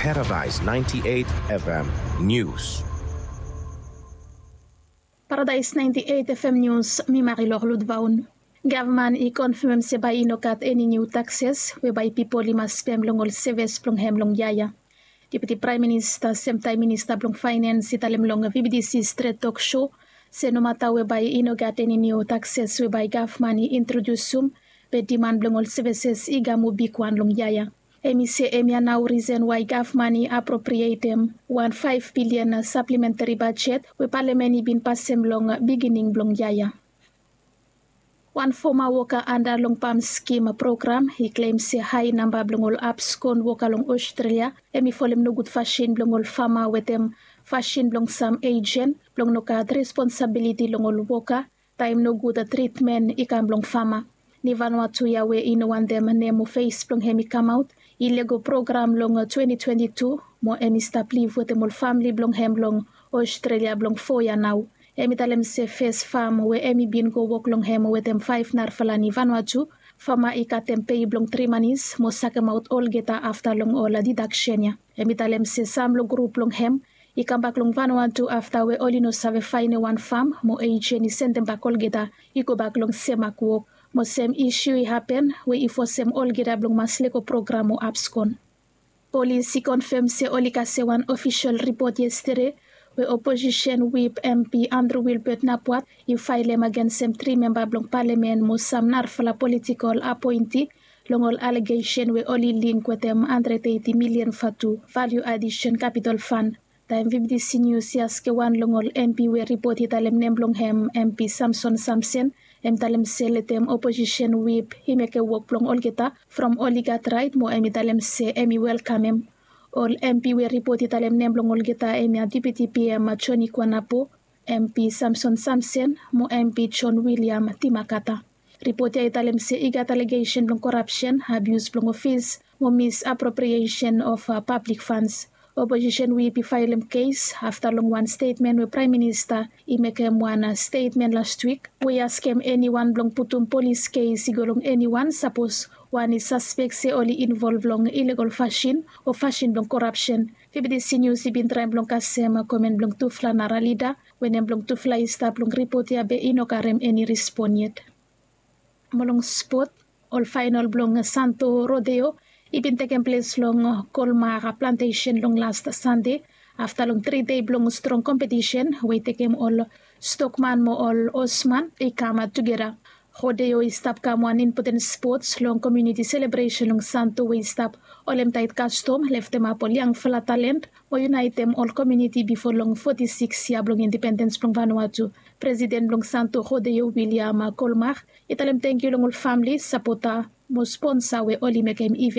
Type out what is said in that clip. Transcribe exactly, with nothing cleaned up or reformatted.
Paradise ninety-eight F M News. Paradise ninety-eight F M News, mi Marilor Ludvaun. Gavman i konfemem se bae i no gat eni niu takses we bae pipol i mas pem long ol seves blong hem long yaya. Deputi Praem Minista semtaem Minista blong Faenens i talem long V B D C Stret Tok Sho se nomata we bae i no gat eni niu takses we bae gavman i introdiusum, be diman blong ol seveses i kam moa bigwan long yaya. Hem i se hemia nao risen wae gavman i aproprietem wan faef bilian saplementari bajet we palamen i bin pasem long bigining blong yaya. Wan foma woka anda long pam skim program i klem se hae namba blong ol abskon woka long Ostrelia hem i folem nogud fasin blong ol fama wetem fasin blong sam ejen blong no gat responsabiliti long ol woka taem nogud tritmen i kam long fama. Ni Vanuatu ya we i no wantem nem o fes blong hem i kamaot i lego program long twenty twenty-two mo hem i stap liv wetem ol famle blong hem long Ostrelia blong fo yia nao. Hem i talem se fes fam we hem i bin go wok long hem wetem faef narafala ni Vanuatu, fama i katem pei blong tri manis mo sakemaot olgeta afta long ol didaksen ya. Hem i talem se sam long grup blong hem i kambak long Vanuatu afta we oli no save faenem wan fam mo ejen i sendem bak olgeta i gobak long sem mak wok. Mo sem isiu i hapen we i fosem olgeta blong mas lego program o abskon. Polis i konfem se oli kasem wan ofisol ripot yestede we oposisen wip M P Andrew Wilbert Napuat i faelem agensem tri memba blong palamen mo sam narafala politikol apoenti long ol alegesen we oli link wetem handred eiti milian vatu valiu adisen kapitol fan. Taem V B D C Nius i askem wan long ol M P we ripot i talem nem blong hem M P Samson Samsen, hem i talem se letem oposisen wip i mekem wok blong olgeta from oli gat raet mo hem i talem se hem i welkamem. Ol M P we ripot i talem nem blong olgeta hemia Deputi P M Joni Kuanapo, M P Samson Samsen mo M P John William Timakata. Ripot ya i talem se i gat alegesen blong korapsen, abius blong ofis mo misapropriesen of pablik fans. Oposisen wip i faelem kes afta long wan stetmen we Praem Minista i mekem wan stetmen lastwik we i askem eniwan blong putum polis kes i go long eniwan sapos wan i saspek se oli involv long ilegol fasin o fasin blong korapsen. V B D C Nius i bin traem blong kasem komen blong tufala nara lida we nem blong tufala i stap long ripot ya be i no karem eni rispon yet. Mo long spot, ol faenol blong Santo Rodeo i bin tekem ples long Kolmar Plantesen long las Sande afta long tri dei blong strong kompetisen we i tekem ol stokman mo ol osman i kam tugeta. Rodeo i stap kam wan impoten spots long komuniti selebresen long Santo we i stap holem taet kastom leftemap ol yangfala talent mo yunaetem ol komuniti bifo long foti sikis yia blong indipendens blong Vanuatu. Presiden blong Santo Rodeo William Kolmar i talem tangkiu long ol famle, sapota mo sponsa we oli mekem iven.